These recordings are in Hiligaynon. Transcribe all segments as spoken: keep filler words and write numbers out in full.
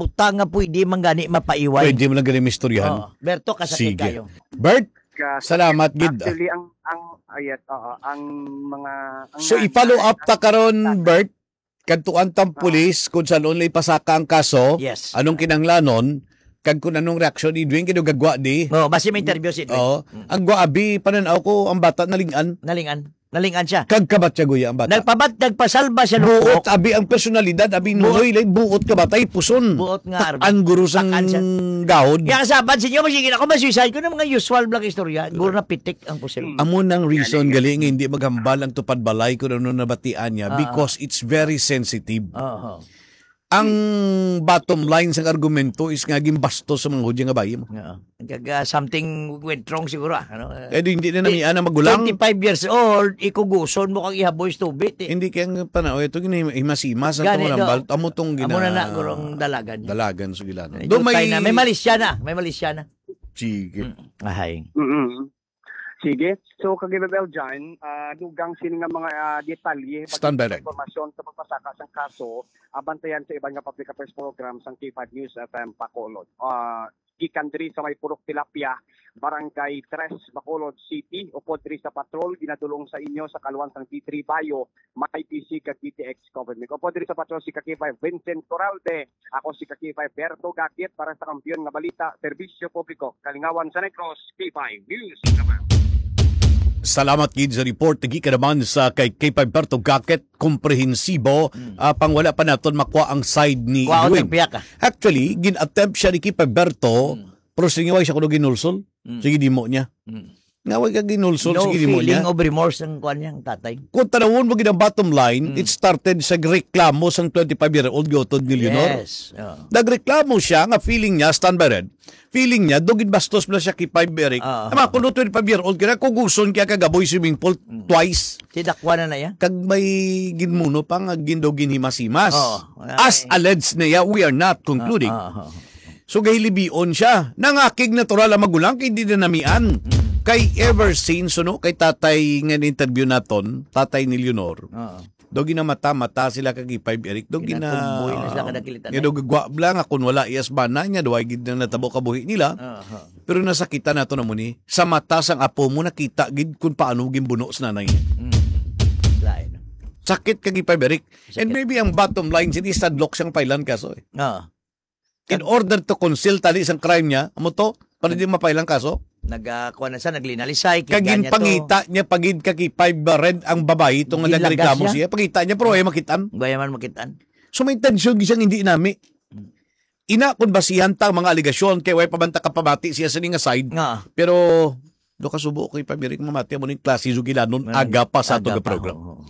Uta nga pwede man gani mapaiway. Pwede mo lang gani mistoryahan. Oo. Berto, kasakit Sige. kayo. Bert, Kasakit. salamat gid. Actually, ang, ang, ayat, oo, ang mga, ang So, nanay, i-follow up ta karon, Bert, kadtuan tang Oo. pulis kung saan nila ipasaka ang kaso, Yes. anong kinahanglanon, kag kung anong reaksyon ni Edwin, kay daw gagwa di. Oo, basi may interview si Edwin. Oo. Mm. Ang gwa, abi, panan-aw ko, ang bata nalingan. Nalingan. Nalingan siya. Kag kabatyagoya ang bata. Nagpabat-, nagpasalba siya, Buot, lukok. abi, ang personalidad, abi, Buot. Nonoy, lay, buot ka ba, tay puson. Buot nga, Arvin. Takan guro sang Takan siya. gahod. Kaya kasaban sa inyo, masigil ako, masuicide ko ng mga usual black istorya. Guro na pitik ang pusil. Hmm. Amo nang reason Galing. gali nga hindi maghambal ang tupad balay kung ano nabatian niya Ah. because it's very sensitive. Oo. Ang bottom line sang argumento is nga ginbastos sa mga Hudyo nga bayi mo. Oo. Kag, ah, something went wrong siguro, ah, ano? Eh, di, hindi na Di, namian ang magulang. twenty-five years old, ikuguson mo kang ihaboy sa tubig, eh. Hindi kaya nga panahon, ito gini-, himas-himas ang Gani, tungod ang no. bal-, amo tong Amo na gina-, na, gurong dalagan niya. dalagan sa gilano. May Do may jutay na. May malisya na. May malisya na. Sige. Mm. Ahay. Mm-mm. Sige. So, kag Bebel John, ah, dugang sini nga mga, ah, detalye, Stand by, pag-, Reg. impormasyon sa pagpasaka sang kaso, abantayan sa iban nga public affairs program sang K five News F M Bacolod. Ah, gikan diri sa may Purok Tilapia, Barangay Tres, Bacolod City, upod diri sa patrol, ginadulong sa inyo sa kaluan sang D three Bayo, may P C kag D T X Government. Upod diri sa patrol si ka K five Vincent Coralde, ako si ka K five Berto Gakit para sa Kampiyon nga Balita, Serbisyo Publiko, Kalingawan sa Negros, K five News. Salamat gid sa report. Gikan naman sa kay K five Berto Gakit, komprehensibo, Mm. ah, pang wala pa naton makuha ang side ni Kuha Edwin. ang piyak, ah. Actually, gin-attempt siya ni K five Berto, Mm. pero sige, wala siya kuno ginulsol. Mm. Sige, dimo niya. Mm. Nga, wala ka ginulsol, No sige, dimo feeling niya. of remorse ang kuwan niya, ang tatay. Kung tanawon mo gid ang bottom line, Mm. it started sa reklamo sang twenty-five-year-old giutod ni Leonor. Yes. Oo. Nagreklamo siya nga feeling niya, stand by, Red. Feeling niya, daw ginbastos na siya kay Five Eric. Oo. Tama, kung twenty-five-year-old ka na, kuguson kaya kagaboy swimming pool Mm. twice. Si Dakwa na na yan. Kag may ginmuno pa nga gin-, daw ginhimas-himas. Oo. As Ay. alleged niya, we are not concluding. Oo, oo, oo. So, gahilibion siya. Nangakig natural ang magulang kay di na namian. Mm. Kay ever since, ano, kay tatay nga in-interview naton, tatay ni Leonor. Oo. Do ginamata-mata sila kag Five Eric. Do gina-, Ginatumboy na sila kada kilitan, nga eh. do gagwa bla nga kung wala iyas bana niya, duway gid na natabo kabuhi nila. Aha. Pero nasakitan nato na mo ni. Sa mata sang apo mo, nakita gid kung paano ginbuno sa nanay niya. Mm. Lain. Sakit kag Five Eric. And Sakit. maybe ang bottom line, sini sadlok siyang pailan kaso, eh. Oo. In Kag- order to conceal tali sang crime niya, amo to, para di mapailang kaso. Nag, ah, kuwan na siya, naglinalisay, Kag kiganya to. ginpangita niya pagid ka kay Five Red ang babayi, itong Ginlagas nagreklamo niya? siya. Pangita niya, pero ayaw makitaan. Wala man makitaan. So, may intensyon gid siyang hindi nami. Hmm. Ina, kung basihan ta ang mga alegasyon, kay way pa man ta kapamati siya sa ning side. Nga. Pero, do kasubo ko, Five Eric, mamati mo ning klase sugilanon, Nga. aga pa sa Aga atong pa, program. oo, oo.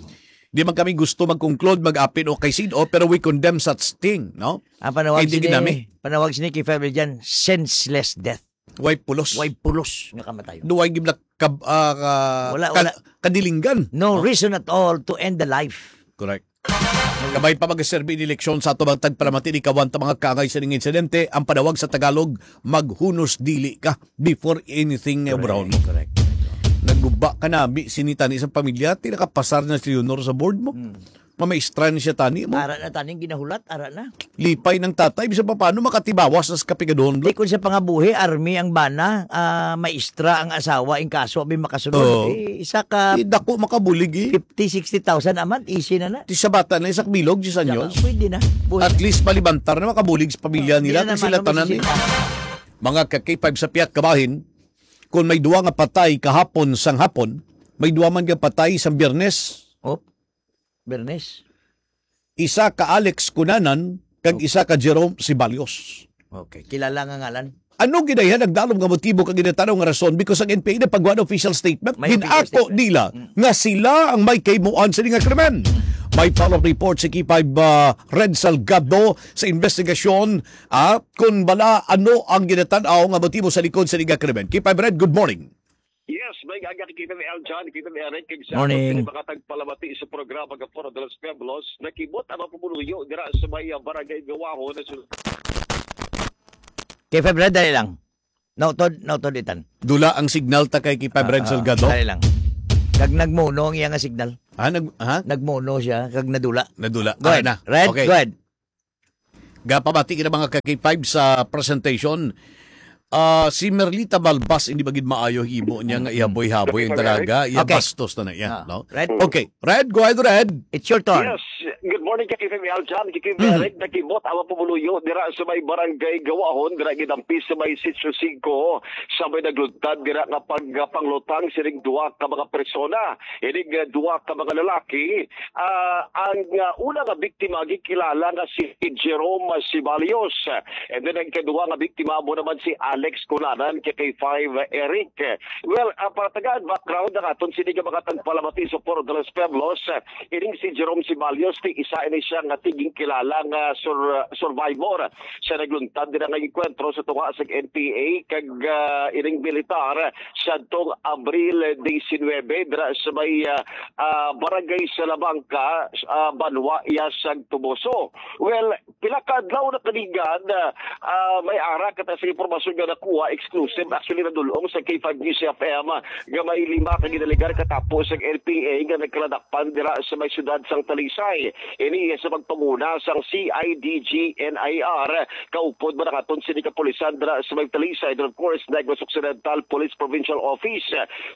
Di man kami gusto mag-conclude, mag-apin o kay sin-o, pero we condemn such thing, no? Ang panawag Kay di sini, ginami. panawag sini kay Five Eric dyan, senseless death. Way pulos. Way pulos nga kamatayon. Duway gibla kab-, ah, ka-, Wala, ka-, wala. kadilinggan. No No? reason at all to end the life. Correct. Kabay pa mag-serve in eleksyon sa ato bang tagpalamati ni kawan ta mga kangay sa ning insidente, ang panawag sa Tagalog, maghunos dili ka before anything Correct, brown. correct, correct. Naguba ka na, bi, sinitani sa pamilya, ti nakapasar na si Leonor sa board mo. Hmm. Mamaistra na siya tani mo. Ara na taning ginahulat, ara na. Lipay ng tatay, bisan pa paano makatibawas na sa kapigaduhon, Di bro. Kung sa pangabuhi, army ang bana, ah, maistra ang asawa, ang kaso, abi makasunod. Oo. Eh, isa ka Di dako makabulig, eh. fifty, sixty thousand a month, easy na na. Di sa bata na, isa ka bilog, diyes anyos. Saka, pwede na. Buhay. At least, malibantar na makabulig sa pamilya Hindi nila, na kung naman sila ang tanan, eh. bisita. Mga ka-K five sa pihak kabahin, kung may duwa nga patay kahapon sang hapon, may duwa man nga patay sang Biyernes. Oh, Biyernes. Isa ka Alex Cunanan, kag Oh. isa ka Jerome Ceballos. Okay, kilala nga ngalan. Ano gid ang nagdalom nga motibo kag ginatanaw nga rason? Because ang N P A nagpagawa ng official statement, May official ginato statement. nila Mm. nga sila ang may kahimuan sa nga krimen. May follow-up report si K five, ah, Red Salgado sa investigasyon, ah, kung bala ano ang ginatanaw nga motibo sa likod sa nga krimen. K five Red, good morning. Yes, may aga kay K five L John, K five Eric, kag sa Morning. aton mga tagpalamati sa programa nga Foro de los Pueblos, nakibot ang mga pumuluyo dira sa may, ah, barangay Gawaho na sul- K five Red, dali lang. Nautod, nautod itan. Dula ang signal ta kay K five Red Ah, ah, Salgado. dali lang. Kag nagmuno ang iya nga signal. Ah, nag-, ha? Nagmuno siya, kag nadula. Nadula. Go ahead. Ah, na. Red, Okay. go ahead. Gapamati kita, mga ka-K five, sa presentation. Ah, si Merlita Balbas, hindi ba gid maayo himo niya nga ihaboy-haboy ang Okay, dalaga? Iya, okay. Bastos na na iya, Ah, no? Red. Okay. Red, go ahead, Red. It's your turn. Yes. Good morning, K K F M Aljan, K K F M Mhm. Eric, nakibot ang mga pumuluyo dira sa may barangay Gawahon, dira gidampi sa may Sitio Cinco, sa may nagluntad dira nga pagpanglutang sining duha ka mga persona. Ining, ah, duha ka mga lalaki, ah, ang, ah, una nga biktima gikilala nga si Jerome Sibalios, and then ang ikaduha nga biktima mo naman si Alex Cunanan, K K five Eric. Well, ah, para tagaan background ang aton sini nga mga tagpalamati sa Foro de los Pueblos, ah, ining si Jerome Sibalios, ti isa ini siya nga tiging kilala nga sur-, survivor sa nagluntad dira nga engkwentro sa tunga sa N P A kag, ah, ining militar sa tong Abril diecinuebe dira sa may, ah, ah, Barangay Salamanca, ah, banwa iya sang Toboso. Well, pila ka adlaw na kaligad, ah, ah, may ara kita sa impormasyon nga nakuha, exclusive, actually, nadul-ong sa K five News F M, ah, nga may lima ka ginaligar katapo sa N P A nga nagkaladakpan dira sa may siyudad sang Talisay. Ini sa pagpanguna sang C I D G N I R, kaupod man ang aton sini kapulisan dira sa may Talisay, and of course, Negros Occidental Police Provincial Office.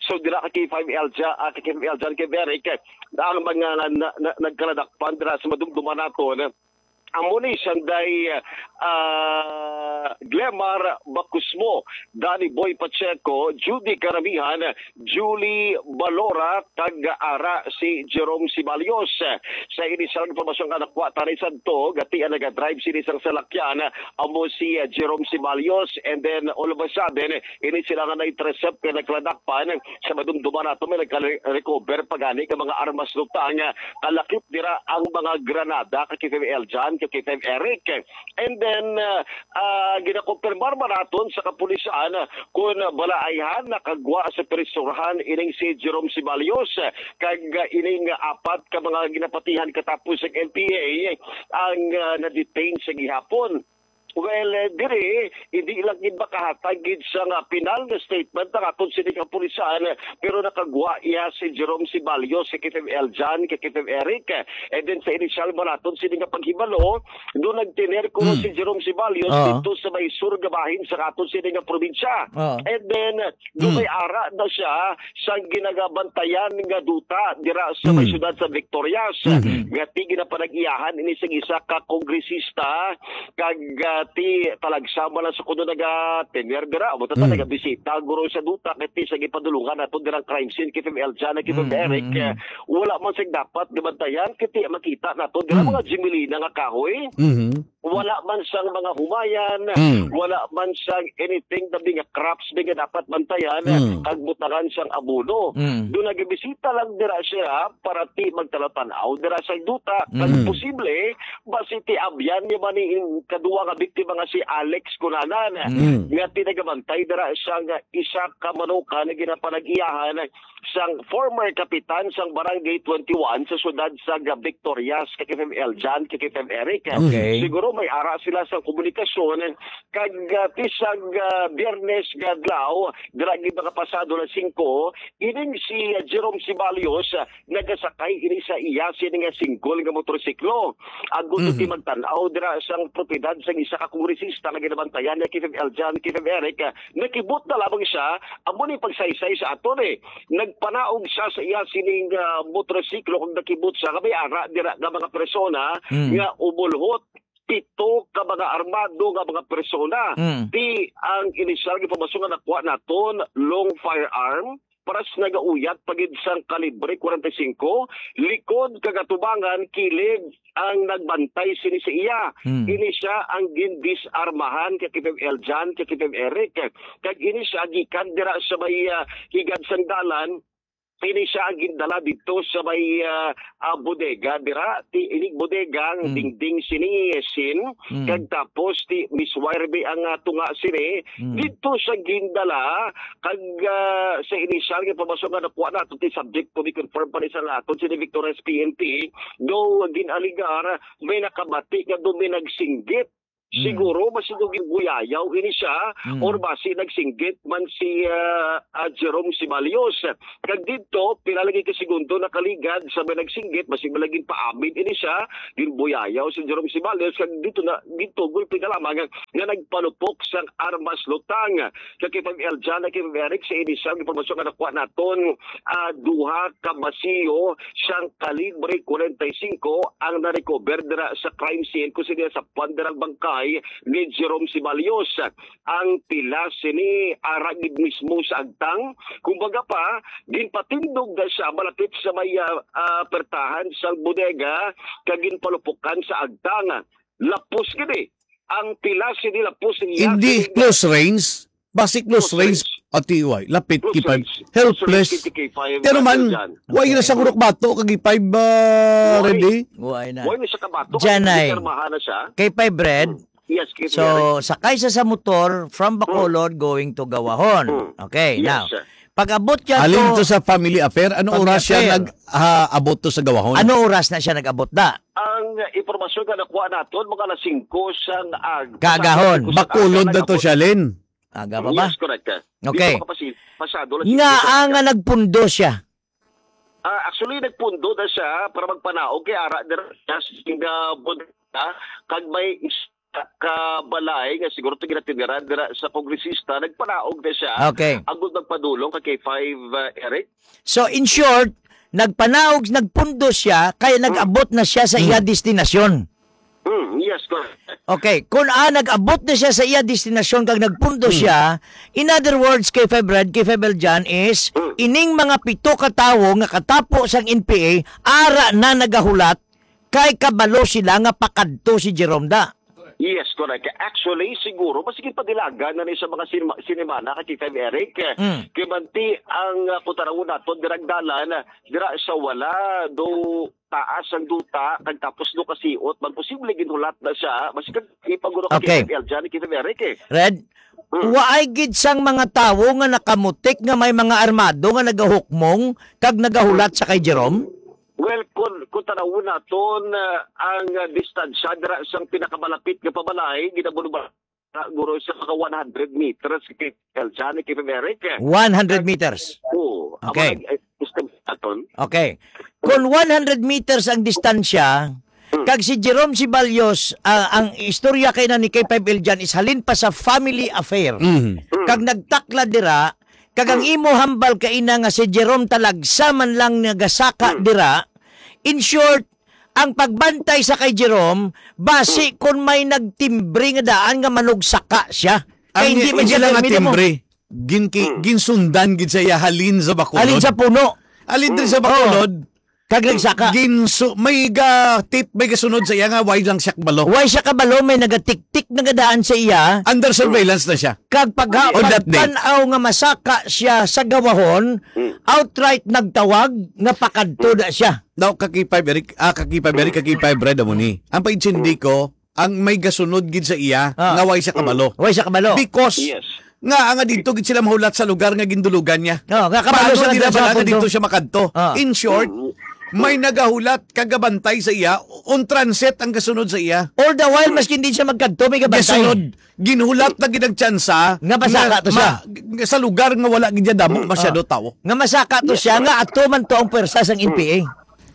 So, dira ka K five Aljan, ah, ka K five Aljan, kay Eric, ang mga na, na, nagkaladakpan dira sa madumduman naton, amo ni sanday, ah, Glemar Bacusmo, Danny Boy Pacheco, Judy Karamihan, Julie Balora, kag ara si Jerome Sibalios. Sa inisyal nga impormasyon nga nakuha tani sa Tog, ati ang nagadrive sini sang salakyan, amo si, ah, Jerome Sibalios, and then all of a sudden, ini sila nga na-intercept kay nagkaladakpan. Sa madumduman nato, may nagka-recover pa gani ka mga armas lutang, kalakip dira ang mga granada, ka K five Aljan, ka K five Eric. And then, ah, ah, ginakumpirmar man naton sa kapulisan, ah, kun bala ayhan nakagwa sa prisohan ining si Jerome Sibalios, ah, kag, ah, ining apat ka mga ginapatihan katapos ang N P A ang, ah, na-detain sa gihapon. Well, eh, diri, hindi lang gid makahatag gid sa nga final nga statement ang aton sini kapulisan, pero nakagwa iya si Jerome Sibalios, si K five Aljan, si K five Eric. And then sa inisyal man naton sini nga paghibalo, do nagtener kuno Hmm. si Jerome Sibalios Ah. dito sa may sur nga bahin sa aton sini nga probinsya. Ah. And then, do Hmm. may ara na siya sa ginagabantayan nga duta dira sa may Hmm. siyudad sa Victorias. Mhm. Nga ti ginapanag-iyahan ini sa isa ka kongresista, kag, ah, ti talagsa man lang sa kuno nagatener dira, amo ta Hmm. nagabisita guro sa duta, kay ti sa gipadulungan nato dirang crime scene, kay F M L Jan, kay Hmm, Eric, hmm, hmm. eh, wala man sing dapat gabantayan, kay ti makita nato dira Hmm. mga jimilina nga kahoy. Mhm. Wala man sang mga humayan, Mm. wala man sang anything na mga crops nga dapat bantayan, Mm. kag butangan sang abono. Mm. Do nagabisita lang dira siya para ti magtanaw-tanaw dira sa duta, kag Mm. posible, basi ti abyan niya man ni kadua nga biktima nga si Alex Cunanan, Mm. nga ti nagabantay dira sang isa ka manukan nga ginapanag-iyahan sang former kapitan sang Barangay twenty-one sa siyudad sa Victorias, kay F M L Jan, kay F M Eric. Okay. Siguro may ara sila sa komunikasyon, kag, ah, ti sang, ah, Biyernes nga adlaw, dira gid mga pasado alas singko, ining si, ah, Jerome Sibalios, ah, nagasakay ini sa iya sini nga single nga motorsiklo. Ang gusto Mhm. ti magtan-aw dira sang propiedad sang isa ka kongresista nga ginabantayan ni F M L Jan, kay F M Eric, ah, nakibot na lamang siya, amo ni pagsaysay sa aton, eh. Nagpanaog siya sa iya sining, ah, motorsiklo kag nakibot siya nga may ara dira nga mga persona Mm. nga umulhot pito ka mga armado nga mga persona. Mm. Ti ang inisyal nga impormasyon nga nakuha naton, long firearm, paras nagauyat pa gid sang kalibre kwarenta y singko, likod kag atubangan, kilid ang nagbantay sini sa iya. Mm. Ini siya ang gindisarmahan kay F M L Jan, kay F M Eric. Kag ini siya gikan dira sa may, ah, higad sang dalan, ini siya ang gindala didto sa may, ah, ah, bodega dira. Ti, inig bodega ang Mm. dingding sini, eh, sin, Mm. kag tapos ti Miss Wireby ang, ah, tunga sini. Mm. Didto siya gindala, kag, ah, sa inisyal nga impormasyon nga nakuha nato, ti subject to be confirmed pa ni sa aton sini Victorias P N P, do ginaligar may nakabati nga do may nagsinggit Mm. Siguro, basi daw ginbuyayaw ini siya, Mm. or basi nagsinggit man si, ah, ah, Jerome Ceballos. Kag didto, pila lagi ka segundo nakaligad sa may nagsinggit, basi man lagi paamin ini siya, ginbuyayaw si Jerome Ceballos. Kag didto na, didto, gulpi na lamang nga, nga nagpalupok sang armas lutang. Kag kay Pag Eljan, kay Pag Eric, sa inisyal nga impormasyon nga nakuha naton, ah, duha ka masiyo sang kalibre forty-five ang na-recover dira sa crime scene, kung sino sa pandarang bangkay ni Jerome Ceballos. Ang pila sini ara gid mismo sa agtang. Kumbaga pa, ginpatindog na siya malapit sa may, ah, ah, pertahan sa bodega, kag ginpalupukan sa agtang. Lapos gid eh. Ang pila sini lapos niya Hindi sa close range. Basic close Close range. range. Ati, way. Lapit, Close K five. range. Helpless. Close range, K five, Pero man, Brother John. way na Okay. sa gurok bato, kag K five, ah, Way. Ready? Way na. Way na siya kabato, Janay. Kay pirmahan na siya. Kay five Red. Mm. Yes, kay So, Red. sakay siya sa motor from Bacolod going to Gawahon. Mm. Okay, Yes, now, sir. pag-abot niya Alin to to sa family affair? Ano Family oras siya affair. nag, ah, abot to sa Gawahon? Ano oras na siya nag-abot da? Ang impormasyon nga nakuha naton, mga alas singko sang ag-, Kaagahon. alas singko sang Bacolod aga na to nag-abot. siya, Lin. Aga pa ba? Yes, correct. Di Okay. pa makapasi-, pasado lang Nga singko sang ang aga. nga nagpundo siya. Ah, actually, nagpundo na siya para magpanaog kay ara dira siya sa bodega, kag may isa ka balay nga siguro to ginatiniran dira sa kongresista, nagpanaog na siya. Okay. Agud magpadulong kay K five, uh, Eric. So, in short, nagpanaog, nagpundo siya, kaya Hmm. nag-abot na siya sa Hmm. iya destinasyon. Hmm, yes, correct. Okay, kung, ah, nag-abot na siya sa iya destinasyon kag nagpundo Hmm. siya, in other words, K five Red, K five Eljan is, Hmm. ining mga pito ka tawo nga katapo sang N P A, ara na nagahulat, kay kabalo sila nga pakadto si Jerome da. Yes, correct. Actually, siguro, mas gipadilagan na ni sa mga sinima-, sinimana kay K five Eric. Hmm. Kay manti ang, ah, kung tanawon naton, dirang dalan, dira sa wala, do taas ang duta, kag tapos do kasiot, man posible ginhulat na siya, mas kag ipaguro ka Okay. K five Eljan, K five Eric eh. Red, Hmm. waay gid sang mga tawo nga nakamutik nga may mga armado nga nagahukmong kag nagahulat sa kay Jerome? Well, kung, kung tanawon naton, ah, ang, ah, distansya dira sang pinakamalapit nga pabalay, ginabunuban guro sa mga one hundred meters, kay Eljan, kay Eric. One hundred meters. Oo. Amo Okay. nag-, eh, estimate naton. Okay. Kung one hundred meters ang distansya, Hmm. kag si Jerome Ceballos, ah, ang istorya kay na ni K five Eljan is halin pa sa family affair. Mhm. Hmm. Kag nagtakla dira, kag ang Hmm. imo hambal kay na nga si Jerome talagsa man lang nagasaka Hmm. dira. In short, ang pagbantay sa kay Jerome, basi Hmm. kung may nagtimbre nga daan nga manugsaka siya. Kay Ang hindi man hindi siya lang nga permit mo. timbre. Gin-, ki-, Hmm. ginsundan gid sa iya halin sa Bacolod. Halin sa puno. Halin diri sa Hmm. Bacolod. Kag nagsaka. Ginsu-, may ga-tip, may gasunod sa iya nga way lang siya kabalo. Way siya kabalo, may nagatiktik na gadaan sa iya. Under surveillance na siya. Kag pagha-, On that day. pagtan-aw nga masaka siya sa Gawahon, Hmm. outright nagtawag nga pakadto na siya. Daw, ka K five Eric, ah, ka K five Eric, ka K five Red, amo ni. Ang paintindi ko, ang may gasunod gid sa iya, Ah. nga way siya kabalo. Mm. Way siya kabalo. Because Yes. nga, nga dito gid sila mahulat sa lugar nga gindulugan niya. Oh, nga kabalo Paano sa sa gid nila sa bala nga punto. dito siya makadto? Ah. In short, Mm. may nagahulat kag gabantay sa iya, on transit ang gasunod sa iya. All the while, Mm. maskin di siya magkadto, may gabantay. Gasunod. Ginhulat na gid ang tsansa Nga masaka nga to siya. ma-, nga sa lugar nga wala gid niya damo Mm. masyado Ah. tawo. Nga masaka to Yes, siya, correct. nga ato man to ang pwersa sang Mm. N P A.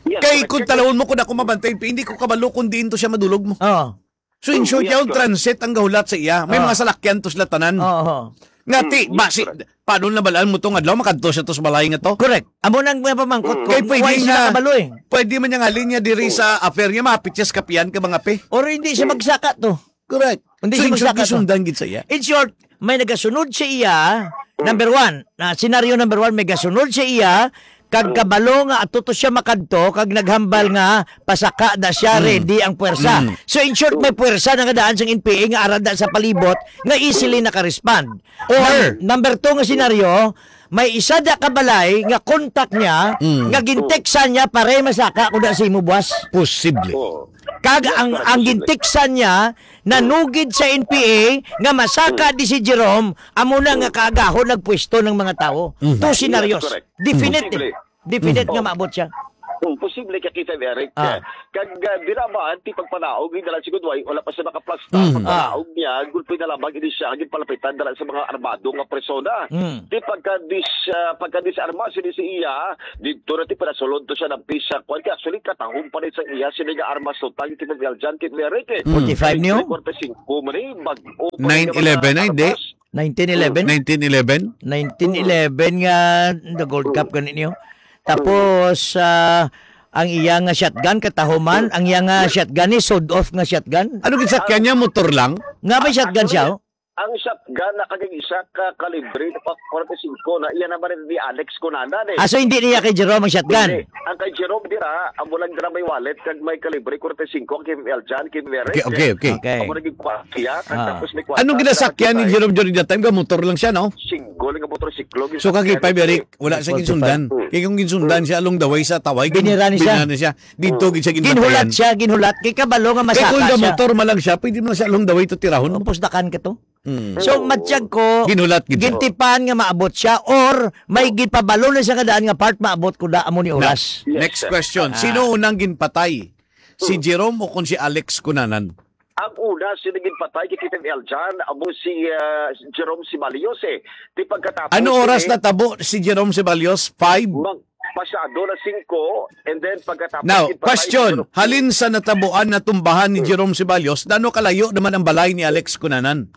Yes, Kay correct. kung talawon mo kung ako mabantay, hindi ko kabalo kung diin to siya madulog mo. Oh. So, in Mm, short, yes, yaon correct. transit ang gahulat sa iya. May Ah. mga salakyan to sila tanan. Oo. Nga, ti, Mm, yes, basi, correct. paano na balaan mo tong adlaw? Makadto siya to sa balay nga to? Correct. Amo nang mga pamangkot Mm. ko. Kay pwede Why sila nga, kabalo eh? pwede man niyang halin niya diri Mm. sa affair niya, mapit siya sa kapihan ka mga pe. Or hindi siya Mm. magsaka to. Correct. Hindi So, siya in short, magsaka to. gisundan gid sa iya. In short, may nagasunod sa iya, Mm. number one, na, scenario number one, may gasunod sa iya, kag Mm. kabalo nga ato to siya makadto, kag naghambal nga pasaka na siya, Mm. ready ang puwersa. Mm. So, in short, may puwersa na nga daan sang N P A nga arada sa palibot nga easily nakarespond. Or, Num-, number two nga senaryo, may isa da ka balay nga contact niya, Mm. nga ginteksan niya, "Pare, masaka ko na sa imo buwas." Posible. Oo. Kag Yes, ang, correct, ang posible. ginteksan niya, nanugid sa N P A nga masaka Mm. di si Jerome, amo na nga Mm. kaagahon nagpwesto ng mga tawo. Mm. Two Yes, scenarios. correct. Definite. Posible. Definite Mm. nga maabot siya. Hmm, posible ka kita, Eric. Ah. Kag, ah, di naman, ti pagpanaog, hindi lang siguro, wala pa siya makaplastar. Mm. Pagpanaog niya, gulpi na lamang ini siya, ginpalapitan na lang sa mga armado nga persona. Mm. Ti pagka dis-, ah, pagka disarma sini si iya, dito na ti pinasulod to siya ng pisa. Kwan ka, actually, katahom pa rin sa iya, sini nga armas to, tang, kita, Eljan, kita, Eric, eh. Mm. Forty-five niyo? Forty-five man, eh, bag-o pa rin naman Nine eleven na, na, hindi? nakarapas. Nineteen eleven? Nineteen eleven? Nineteen eleven nga na-Gold Cup gani niyo. Tapos, ah, ang iya nga shotgun, katahuman, ang iya nga shotgun ni sawed-off nga shotgun. Ano gisakyan niya? Motor lang? Nga may shotgun siya, oh? Ang shotgun na kagag isa ka kalibre na pa forty-five na iya naman ni Alex Cunanan, eh. Ah, so hindi niya kay Jerome ang shotgun? Hindi. Ang kay Jerome dira, amo lang dira may wallet kag may kalibre forty-five kay Eljan, kay Mary. Okay, okay, okay. Okay. Amo naging kwartiya, kag Ah. tapos may kwarta Anong sa ginasakyan ni kagipay. Jerome during that time? Ga motor lang siya, no? Single nga motorsiklo, So, ginasakyan kagipay, ni Eric, wala siya Forty-five. ginsundan. Hmm. Kaya kung ginsundan Hmm. siya along the way sa Taway, Binira ni siya. binira ni siya. Dito, Hmm. gid siya Ginhulat ginbantayan. siya, ginhulat. Kay kabalo nga Kaya kung masaka siya. motor man lang siya, pwede mo na siya along the way to tirahon. Pusdakan ka to. Hmm. So, matyag ko, Ginhulat gid siya. gintipan nga maabot siya or may ginpabalo na siya nga daan nga part maabot ko da amo ni Na, oras. Yes, next sir. question. Ah. Sino unang ginpatay? Si Hmm. Jerome o kon si Alex Cunanan? Ang una, sino ginpatay kay Captain Eljan, amo si, ah, Jerome Sibalios, eh. Di pagkatapos, Ano oras eh, natabo si Jerome Sibalios? Five? Mag-, pasado na singko, and then pagkatapos Now, ginpatay question, si Jerome. halin sa natabuan, natumbahan ni Hmm. Jerome Sibalios, nano kalayo naman ang balay ni Alex Cunanan?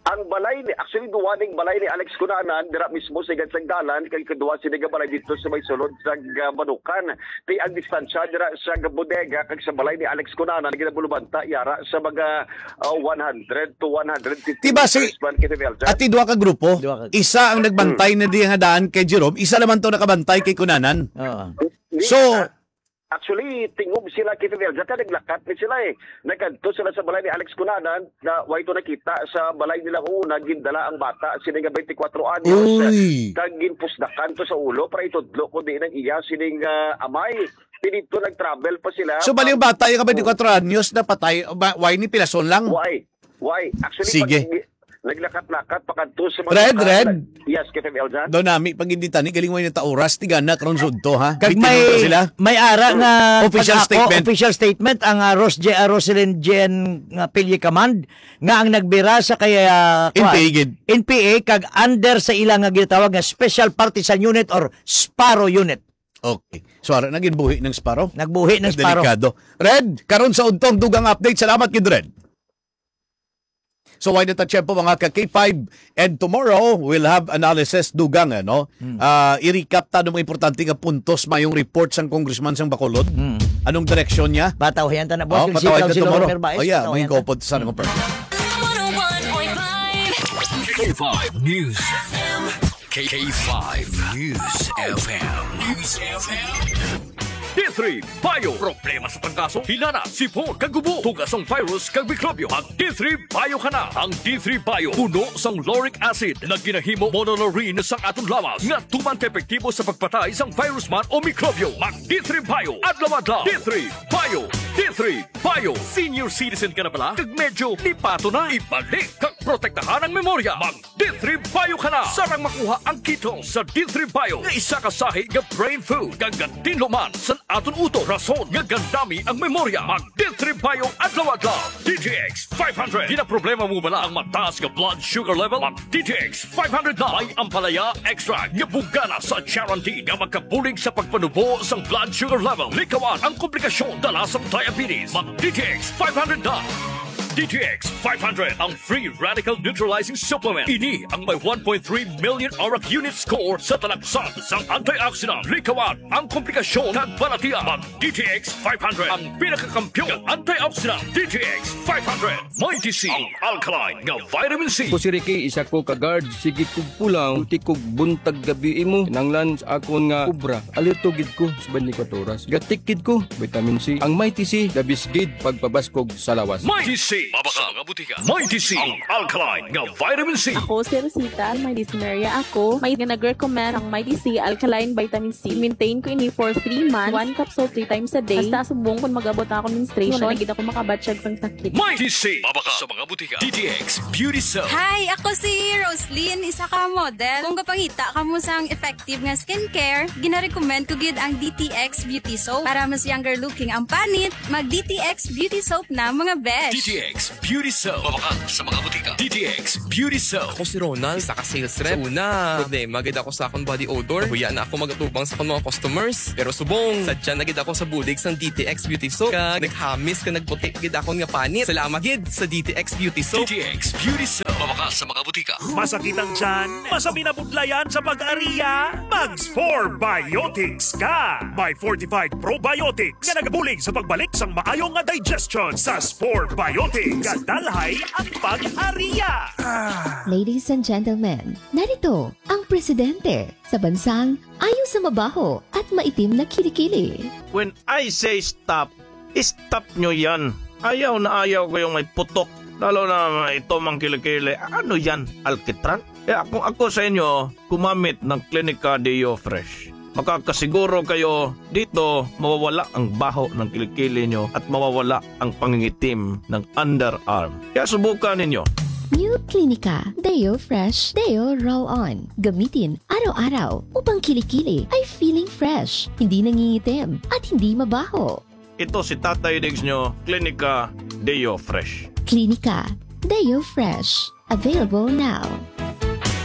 Ang balay ni, actually, duwa ning balay ni Alex Cunanan, dira mismo sa igad sang dalan, kay kaduha sini nga balay dito sa may sulod sa, ah, Banukan. Kay ang distansya dira sa bodega kag sa balay ni Alex Cunanan, ginabulubanta yara sa mga, ah, one hundred to one hundred fifty Diba si meters man, Captain Eljan. Ati duha ka grupo? Duha ka Isa ang nagbantay Hmm. na di nga daan kay Jerome, isa naman to nakabantay kay Cunanan. Oo. Hindi, So, ah, Actually, tingob sila, Captain Eljan, kay naglakat ni sila, eh. Nagkadto sila sa balay ni Alex Cunanan, na way to nakita sa balay nila una, gindala ang bata, sini nga twenty-four anyos, Uy. kag ginpusdakan to sa ulo para itudlo ko diin ang iya sining, ah, amay. Pinito nag-travel pa sila. So, bali yung bata, yung twenty-four anyos, napatay, ba, why ni pilason lang? Why? Why? Actually, Sige. pag naglakat-lakat, pakadto sa mga Red, tao, Red. nag-, yes, Captain Eljan? Daw nami, pag hindi tani, galing mo yung tauras, tigana, karon sudto, ha? Kag Bitin may, mo sila? may ara nga Official pag-ako, statement. official statement, ang, ah, Ros J-, ah, Roselyn Jen nga Pilye Command, nga ang nagbira sa kay, ah, N P A kwan, gid. N P A, kag under sa ila nga ginatawag nga Special Partisan Unit or Sparrow Unit. Okay. So, ara na gid buhi ng Sparrow. Nagbuhi ng Sparrow. Delikado. Red, karon sa udtong dugang update. Salamat gid, Red. So, why not a tiyempo, mga ka K five? And tomorrow, we'll have analysis dugang, ano? Hmm. Ah, i-recap ta ng mga importante nga puntos, mayong report sang congressman sang Bacolod. Hmm. Anong direksyon niya? Patawayan ta na, boss. Oh, Yung patawayan sitaw ta si Lolo tomorrow. Merbais, Oh, yeah, patawayan may ta. Kopot sa Hmm. mga One oh one point five. K five News. K five News F M. News F M. D three Bio. Problema sa tangkaso, hilana, sipon, kag ubo, tuga sang virus, kag mikrobyo. Mag D three Bio ka na. Ang D three Bio, puno sang lauric acid, nga ginahimo monolaurin sang aton lawas, nga tuman ka epektibo sa pagpatay sang virus man o mikrobyo. Mag D three Bio, adlaw-adlaw. D three Bio, D three Bio. Senior citizen ka na bala? Kag medyo lipato na. Ibalik kag protektahan ang memorya. Mag D three Bio ka na. Sarang makuha ang ketone sa D three Bio nga isa ka sahi nga brain food kag gatinlo man sa aton utok, rason nga gandami ang memorya. Mag D three Bio adlaw-adlaw. D T X five hundred. Ginaproblema mo bala ang mataas nga blood sugar level? Mag D T X five hundred na. May ampalaya extract nga bungana sa charantin nga makabulig sa pagpanubo sang blood sugar level. Likawan ang komplikasyon dala sang diabetes. Mag D T X five hundred na. D T X five hundred, ang free radical neutralizing supplement. Ini ang may one point three million ORAC unit score sa talagsan sang antioxidant. Likawan ang komplikasyon kag balatian. Mag D T X five hundred, ang pinakakampiyon nga antioxidant. D T X five hundred. May D C ang alkaline nga vitamin C. Ako si Ricky, isa ko ka guard. Sige kog pulaw, ulti kog buntag gabi imo. Kinanglan sa akon nga obra. Alerto gid ko sa twenty-four oras. Gatik gid ko, vitamin C. Ang Mighty C, the best gid pagpabaskog sa lawas. Mighty C, Mabaka sa mga butika. Mighty C, ang alkaline nga vitamin C. Ako si Rosita, may dysmenorrhea ako. May nga nag-recommend ang Mighty C alkaline vitamin C. Maintain ko ini for three months. One capsule three times a day. Hasta subong kung mag-abot na ako menstruation, wala na gid ako makabatyag sang sakit. Mighty C, mabaka sa mga butika. D T X Beauty Soap. Hi, ako si Roslyn, isa ka model. Kung gapangita kamo sang effective nga skincare, gina-recommend ko gid ang D T X Beauty Soap. Para mas younger looking ang panit, mag D T X Beauty Soap na, mga besh. D T X Beauty Soap. Mabakal sa mga butika. D T X Beauty Soap. Ako si Ronald, isa ka sales rep. Sa una, problema gid ako sa akong body odor. Nahuya na ako magatubang sa akong mga customers. Pero subong, sadya na gid ako sa bulig sang D T X Beauty Soap. Kag naghamis ka nagputi gid akon nga panit. Salamat gid sa D T X Beauty Soap. D T X Beauty Soap. Mabakal sa mga butika. Masakit ang tiyan? Masabi na budlayan sa pag-ariya? Mag Spore Biotics ka! May fortified probiotics nga nagabulig sa pagbalik sang maayo nga digestion sa Spore Biotics. Kadalhay ang pag-ariya! Ladies and gentlemen, narito ang presidente sa bansang ayo sa mabaho at maitim na kilikili. When I say stop, stop nyo yan. Ayaw na ayaw ko yung may putok. Lalo na ito mang kilikili. Ano yan? Alkitran? Kaya kung ako sa inyo, gumamit ng Clinica Deo Fresh. Makakasiguro kayo dito mawawala ang baho ng kilikili nyo at mawawala ang pangingitim ng underarm. Kaya subukan ninyo. New Clinica Deo Fresh Deo Roll On. Gamitin araw-araw upang kilikili ay feeling fresh, hindi nangingitim, at hindi mabaho. Ito si Tatay Diggs nyo, Clinica Deo Fresh. Clinica Deo Fresh. Available now.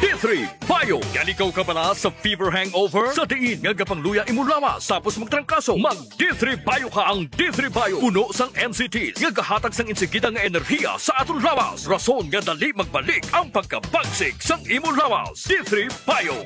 D three Bio. Yan ikaw kabala sa fever hangover? Sa diin nga gapangluya imo lawas tapos magtrangkaso, mag D three Bio ka. Ang D three Bio puno sang N C T nga gahatag sang insigida nga enerhiya sa aton lawas, rason nga dali magbalik ang pagkabagsik sang imo lawas. D three Bio.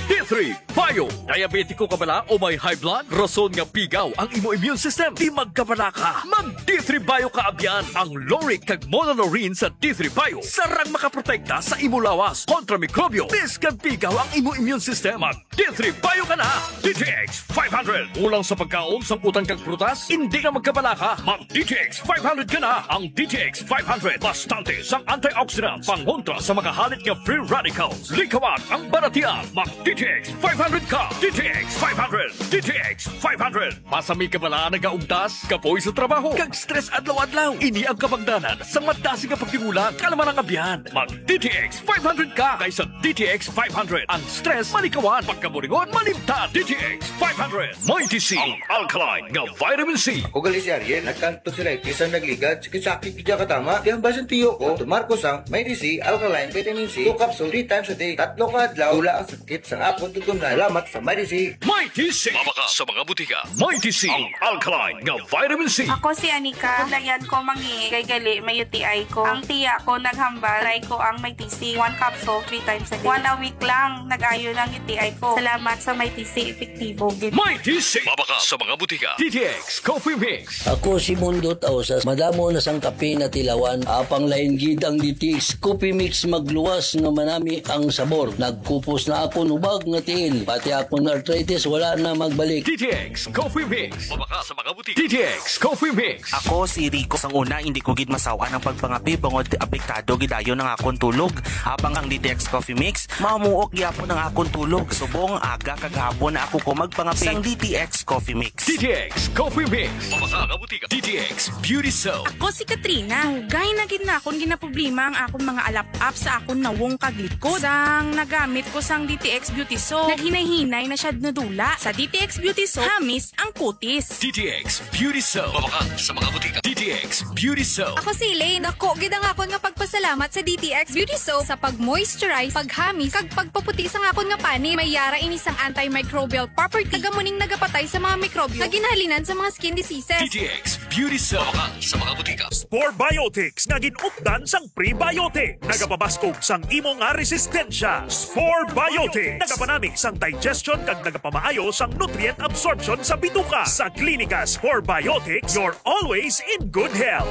D three Bio. Diabetiko ka bala o may high blood? Rason nga pigaw ang imo immune system? Di magkabala ka. Mag D three Bio ka abyan. Ang lauric kag monolaurin sa D three Bio sarang makaprotekta sa imo lawas kontra mikrobyo, biskag pigaw ang imo immune system. Mag D three Bio ka na. D T X five hundred. Kulang sa pagkaon, sang utan kag prutas? Hindi ka magkabala ka. Mag D T X five hundred ka na. Ang D T X five hundred bastante sang antioxidants, pangontra sa mga halit nga free radicals. Likawan ang balatian. Mag D T X five hundred ka. D T X five hundred. D T X five hundred. Masami ka bala nagaugtas, kapoy sa trabaho, kag stress adlaw-adlaw? Ini ang kabangdanan sa madasig nga pagtimulag, kalaman ang abyan. Mag D T X five hundred ka, kay sa D T X five hundred ang stress malikawan, pagkaburingon malimtan. D T X five hundred. Mighty C, ang alkaline nga vitamin C. Ako gali si Ariel, nagkang tonsillitis ang nagligad, sakit-sakit gid katama. Kaya ang basin tiyo ko, tumar ko sang Mighty C alkaline vitamin C, two capsule, three times a day. Tatlo ka adlaw, wala ang sakit sa akon tutunlan. Salamat sa Mighty C. Mighty C. Mabakal sa mga butika. Mighty C, ang alkaline nga vitamin C. Ako si Anika. Layan ko mangi kay gali may U T I ko. Ang tiya ko naghambal, try ko ang Mighty C. One capsule, three times a day. One a week lang, nag-ayo ng U T I ko. Salamat sa Mighty C, epektibo gid. Mighty C. Mabakal sa mga butika. D T X Coffee Mix. Ako si Mundo Tausas. Madamo na sang kape na tilawan. Apang lain gid ang D T X Coffee Mix, magluwas nga manami ang sabor. Nagkupos na akon ubag nga tiil. Pati akon arthritis wala na magbalik. D T X Coffee Mix. Mabakal sa mga butika. D T X Coffee Mix. Ako si Rico. Sang una, hindi ko gid masawan ang pagpangape bangod apektado gid dayon ang akon tulog. Habang ang D T X Coffee Mix, mamuok gyapon ang akon tulog. Subong aga kag hapon na ako ko magpangape. Sang D T X Coffee Mix. D T X Coffee Mix. Mabakal sa mga butika. D T X Beauty Soap. Ako si Katrina. Dugay na gid na akon ginaproblema ang akon mga alap-ap sa akon nawong kag likod. Sang nagamit ko sang D T X Beauty Soap, naghinay-hinay na siya nadula. Sa D T X Beauty Soap, hamis ang kutis. D T X Beauty Soap. Mabakal sa mga butika. D T X Beauty Soap. Ako si Elaine. Dako gid ang akon nga pagpasalamat sa D T X Beauty Soap sa pag-moisturize, paghamis, kag pagpaputi sang akon nga panit. May yara ini sang antimicrobial property. Taga muning nagapatay sa mga mikrobyo nga ginhalinan sa mga skin diseases. D T X Beauty Soap. Mabakal sa mga butika. Spore Biotics nga gin-updan sang prebiotic. Nagapabaskog sang imo nga resistensya. Spore Biotics. Nagapanami sang digestion kag nagapamaayo sang nutrient absorption sa bituka. Sa Klinika Spore Biotics, you're always in good health.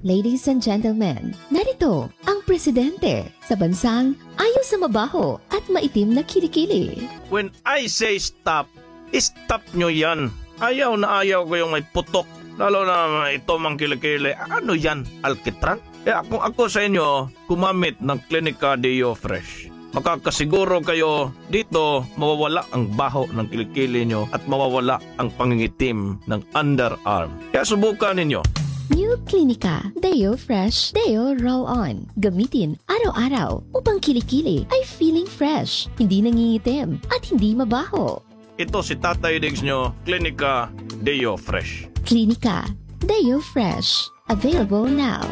Ladies and gentlemen, narito ang presidente sa bansang ayo sa mabaho at maitim na kilikili. When I say stop, stop nyo yan. Ayaw na ayaw ko yung may putok. Lalo na ito, mga kilikili. Ano yan, alkitran? Kaya kung ako sa inyo, gumamit ng Clinica Deo Fresh. Makakasiguro kayo dito, mawawala ang baho ng kilikili nyo at mawawala ang pangingitim ng underarm. Kaya subukan ninyo. New Clinica Deo Fresh Deo Roll On. Gamitin araw-araw upang kilikili ay feeling fresh, hindi nangingitim, at hindi mabaho. Ito si Tatay Diggs nyo, Clinica Deo Fresh. Clinica Deo Fresh. Available now.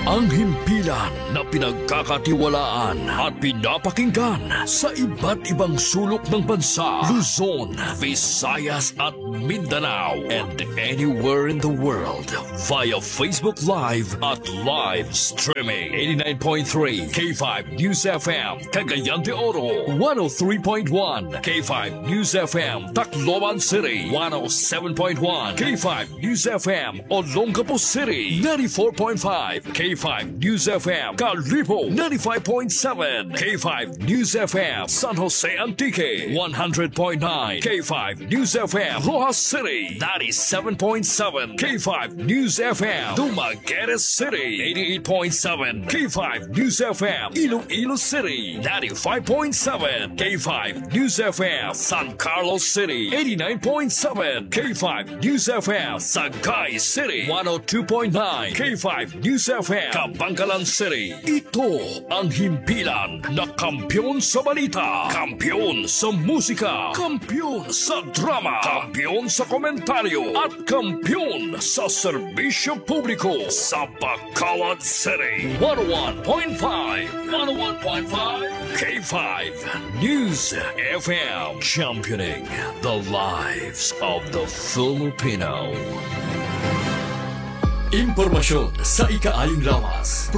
Ang himpilan na pinagkakatiwalaan at pinapakinggan sa iba't ibang sulok ng bansa, Luzon, Visayas at Mindanao, and anywhere in the world via Facebook Live at live streaming. Eighty-nine point three K five News F M, Cagayan de Oro, one oh three point one K five News F M, Tacloban City, one oh seven point one K five News F M, Olongapo City, ninety-four point five K five News F M, Kalibo, ninety-five point seven K five News F M, San Jose Antique, one hundred point nine K five News F M, Roxas City, ninety-seven point seven K five News F M, Dumaguete City, eighty-eight point seven K five News F M, Iloilo City, ninety-five point seven K five News F M, San Carlos City, eighty-nine point seven K five News F M, Sagay City, one oh two point nine K five News F M, Kabankalan City. Ito ang himpilan na kampiyon sa balita, kampiyon sa musika, kampiyon sa drama, kampiyon sa komentaryo, at kampiyon sa serbisyo publiko sa Bacolod City. One oh one point five, one oh one point five K five News F M, championing the lives of the Filipino. Impormasyon sa ikaaling lawas.